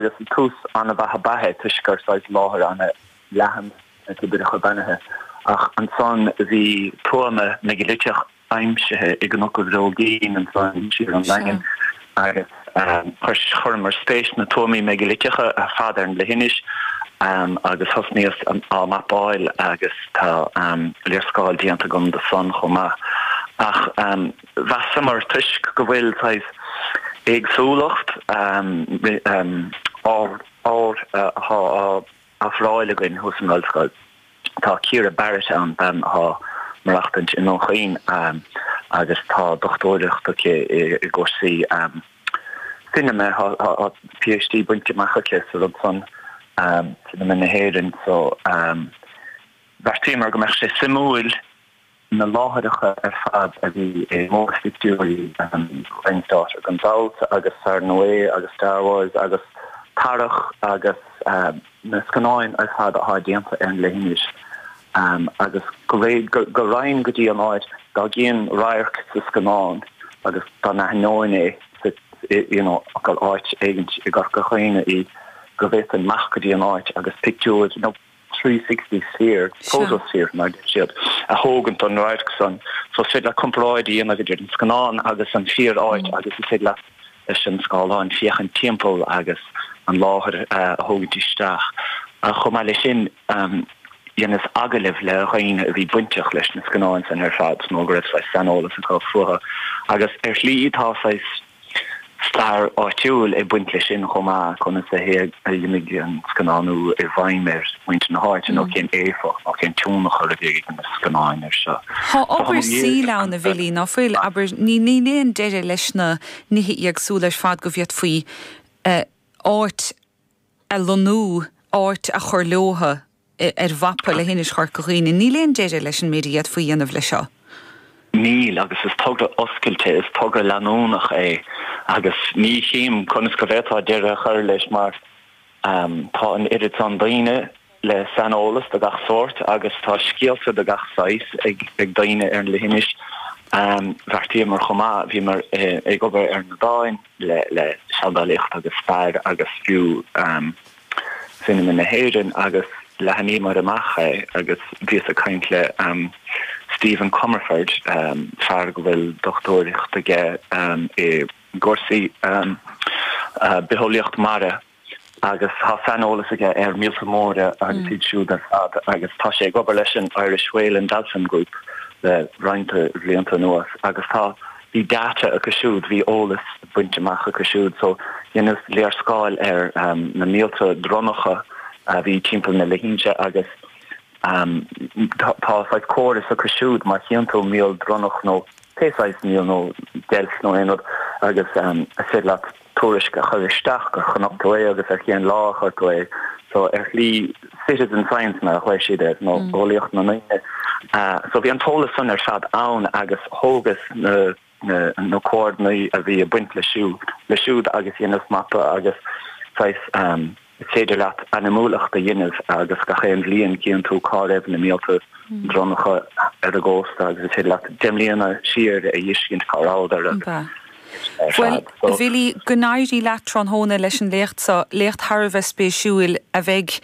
Agus tús an-mhaith ab ea é toisc gur saghas láthair an-leathan na Toibreacha Beannaithe. Ach ansan bhí tuama meigiliteach aimsithe i gCnoc an Bhróigín ansan siar ón nDaingean agus chuireamar spéis sna tuamaí meigiliteacha ar fad ar an leithinis agus thosnaíos á mapáil agus tá léarscáil déanta agam de san chomh maith. Ach mheasamar toisc go bhfuil saghas éagsúlacht ábhar atá á ofráil againn thuas san ollscoil. Tá Ciara Barrett ann, bean atá maireachtaint i nDún Chaoin agus tá dochtúireacht aici i gcúrsaí cinema, tá PhD bainte amach aici sa rud san, cinema na hÉireann, so bheartaíomar go mbeadh sé suimiúil na láithreacha ar fad a bhí i mórphictiúirí Ryan's Daughter gan dabht agus Fear Noé agus Star Wars agus Tarach agus na scannáin ar fad atá déanta ar an leithinis agus go raghainn go dtí an áit dá gcífinn radharc sa scannán agus dá n-aithneoinn é sa you know gur áit éigint i gCorca Dhuibhne í go bhféadfainn imeacht go dtí an áit agus pictiúr nó 360 sphere, photosphere mar a deir siad, a thógaint don radharc san. So is féidir leat comparáid a dhéanamh idir an scannán agus an fíor áit agus is féidir leat leis an scáileán féachaint timpeall agus an láthair a thógaint isteach. Ach chomh maith leis sin, dheineas agallaimh le dhaoine a bhí bainteach leis na scannáin san ar fad nó go raibh saghas saineolas acu fúthu agus ar shlí tá saghas stair áitiúil ag baint leis sin chomh maith, conas a d'imigh an scannánú i bhfeidhm ar mhuintir na háite nó cén éifeacht nó cén tionchar a bhí ag na scannáin air seo. Tá obair saoil ann, a Bhilly, ná fuil? Abair, níl aon deireadh leis na nithe éagsúla ar fad go bhféadfaí áit a lonnú, áit a chur leotha. ar mhapa leithinis Chorca Dhuibhne. Níl aon deireadh leis an méid a d'fhéadfaí a dhéanamh leis seo. Níl, agus is togra oscailte, is togra leanúnach é agus ní chím conas go bhféadfá deireadh a chur leis mar tá an oiread san daoine le saineolas de gach sórt agus tá scéalta de gach saghas ag daoine ar an leithinis. Bheartaíomar chomh maith, bhíomar ag obair ar na dáin le seandálaíocht agus stair agus fiú Cinema na hÉireann agus leathnaíomar amach é agus bhíos ag caint le Stephen Comerford, fear go bhfuil dochtúireacht aige i gcúrsaí bitheolaíocht mara agus tá saineolas aige ar mhíolta móra agus iad siúd ar fad agus tá sé ag obair leis an Irish Whale and Dolphin Group le roinnt bhlianta anuas agus tá Bhí data acu siúd, bhí eolas bainte amach acu siúd so dheineas léarscáil ar na míolta dronnacha a bhí timpeall na leithinse agus tá saghas córas acu siúd má chíonn tú míol dronnach nó pé saghas míol nó deilf nó aon rud agus is féidir leat tuairisc a chur isteach gur chonaic tú é agus ar cén lá a chonaic tú é. So ar shlí citizen science mar a ghlaoigh siad air, nó eolaíocht na ndaoine. So bhí an t-eolas san ar fad ann agus thógas na na comhordnáidí a bhí ag baint le siúd le siúd agus dheineas mapa agus saghas is féidir leat ainmniúlacht a dhéanamh agus gach aon bhliain cíonn tú cá raibh na míolta dronnacha ar an gcósta agus is féidir leat 10 mbliana siar a fheiscint cá rabhadar agus ar Bhuel, fad. A Bhilly, go n-éirí leat tráthnóna leis an léacht seo, léacht thar a bheith spéisiúil a bheidh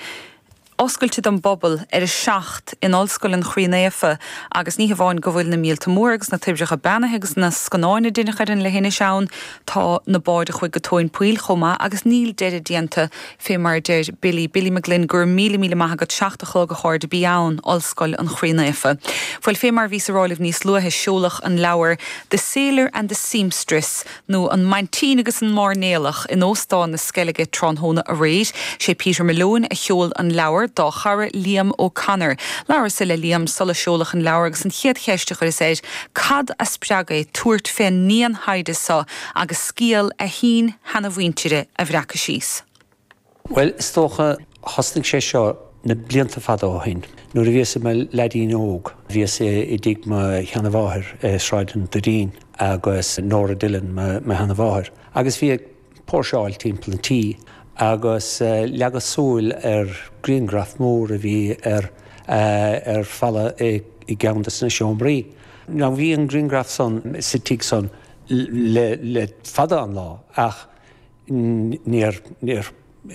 oscailte don bpobal ar a 7 in Ollscoil an Chroí Naofa agus ní hamháin go bhfuil na míolta móra agus na toibreacha beannaithe agus na scannáin a deineadh ar an leithinis ann, tá na báid a chuaigh go tóin poill chomh maith agus níl deireadh déanta fé mar a deir Billy. Billy McGlynn, go raibh míle míle maith agat, 7 a chlog a chairde, bí ann, Ollscoil an Chroí Naofa. Bhuel, fé mar a bhíos a rá libh níos luaithe, seoladh an leabhar The Sailor and the Seamstress, nó An Maintín agus an Mairnéalach, in Óstán na Sceilge tráthnóna aréir. Sé Peter Malone a sheol an leabhar dá chara Liam O'Connor. Labhras-sa le Liam sula seoladh an leabhar agus an chéad cheist a chuireas air, cad a spreag é tabhairt fén ndian-thaighde so agus scéal a shín-sheanamhuintire a bhreacadh síos? Bhuel, is dócha, thosnaigh sé seo na blianta fada ó shin. Nuair a bhíos i mo leaidín óg, bhíos i dtigh mo sheanamháthair i Sráid an Doirín agus Nora Dillon mo sheanamháthair. Agus bhí ag póirseáil timpeall an tí agus leagas súil ar grianghraf mór a bhí ar ar falla i gceann de na seomraí. Now bhí an grianghraf san sa tigh san le fada an lá ach níor níor.